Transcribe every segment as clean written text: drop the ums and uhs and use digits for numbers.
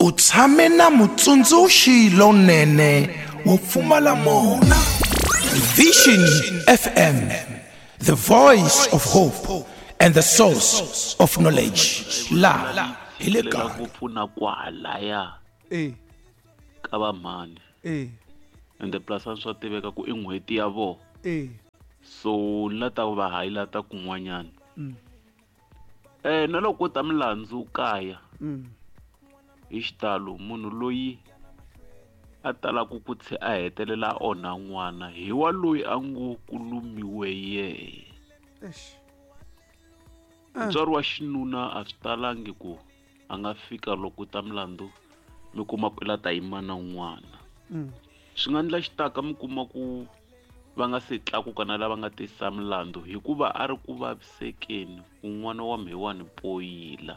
U tshame na mutsundzuxi lonene wo pfumala mona. Vision FM, the voice of hope and the source of knowledge. La hi le lela kaya. ngopfu na kwalaya e ka va mhani e ende plus a swa tiveka ku i n'hweti ya vona e so ni la ta va highlighta kun'wanyana Mm. Na loko ko ta milandzu kaya mm. hi xitalo munhu loyi a talaku ku tlhe a hetelela a onha n'wana hi wa loyi a ngo ku lumiwe yehe Eish. Mutswari wa xinuna a swi talangi ku a nga fika loko ta milandzu mi kuma ku i la ta yima na n'wana. Swi nga endla xitaka mi kuma ku va nga se tlakuka na lava nga tisa milandzu hikuva a ri ku vavisekeni ku n'wana wa mhewani poyila.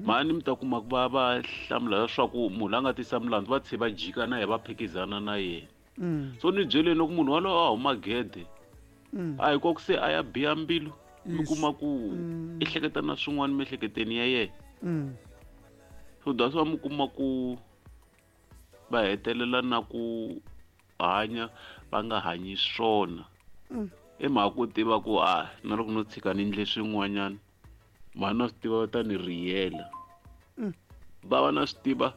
Mhani mi ta kuma ku va va hlamula leswaku munhu la nga tisa milandzu va tlhe va jika na yena va phikizana na yena. So ni byeleni loko munhu walowo a huma gede a hi ku se a ya biha mbilu mi kuma ku i hleketa na swin'wana miehleketweni ya yena. So that's why mi kuma ku va hetelela na ku hanya va nga hanyi swona. I mhaka ku tiva ku a na loko no tshika ni endle swin'wanyana mhani na swi tiva va ta ni riyela. Va va na swi tiva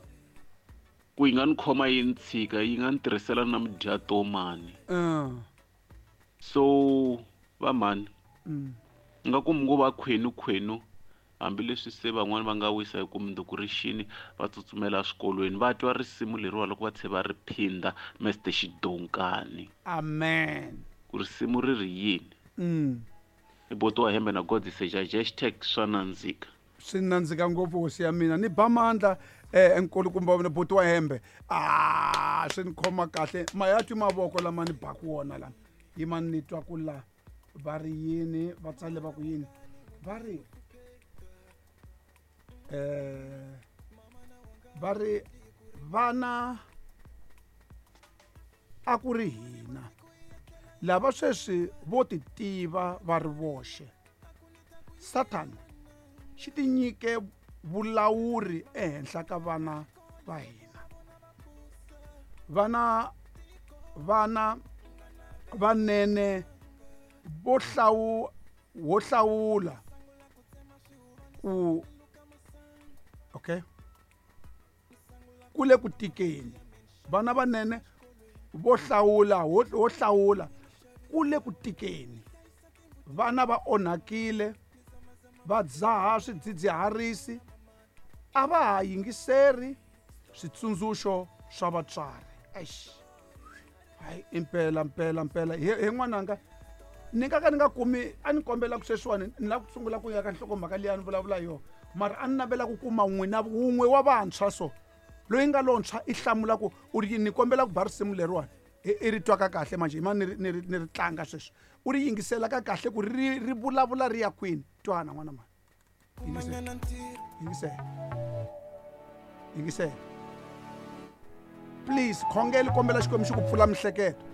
ku yi nga ni khoma yi ni tshika yi nga ni tirhisela na mudyatomani. So va mhani nga ku mi ngo va khwenu khwenu hambileswi se van'wani va nga wisa hi ku mundzuku ri xini va tsutsumela eswikolweni va twa risimu leriwa loko va tlhe va ri phinda Mr Xidonkani. Amen. Ku risimu ri ri yini? I boti wa hembe na God Sejaji hashtag swa nandzika. Swi nandzika ngopfu hosi ya mina ni ba mandla nkulukumba wa mina buti wa hembe. Ah, swi ni khoma kahle ma ya twi mavoko lama ni baku wona lama yima ni twa ku la va ri yini va tsale va ku yini va ri va ri vana a ku ri hina lava sweswi vo ti tiva va ri voxe. Satan xi ti nyike vulawuri ehenhla ka vana va hina. Vana vana vanene vo hlawu wo hlawula ku okay ku le ku tikeni vana vanene vo hlawula wo hlawula ku le ku tikeni vana va onhakile va dzaha swidzidziharisi a va ha yingiseri switsundzuxo swa vatswari. Eish, hayi impela mpela mpela he n'wananga ni nga ka ni nga kumi a ni kombela ku sweswiwani ni lava ku sungula ku ya ka nhlokomhaka liya ni vulavula yona mara a ni navela ku kuma n'wina wun'we wa vantshwa so loyi nga lontshwa i hlamula ku u ri ni kombela ku ba risimu leriwani i ri twaka kahle manje yima ni ri tlanga sweswi u ri yingisela ka kahle ku ri ri vulavula ri ya kwini twana n'wana mani yingisela yingisela please khongela kombela Xikwembu xi ku pfula mihleketo.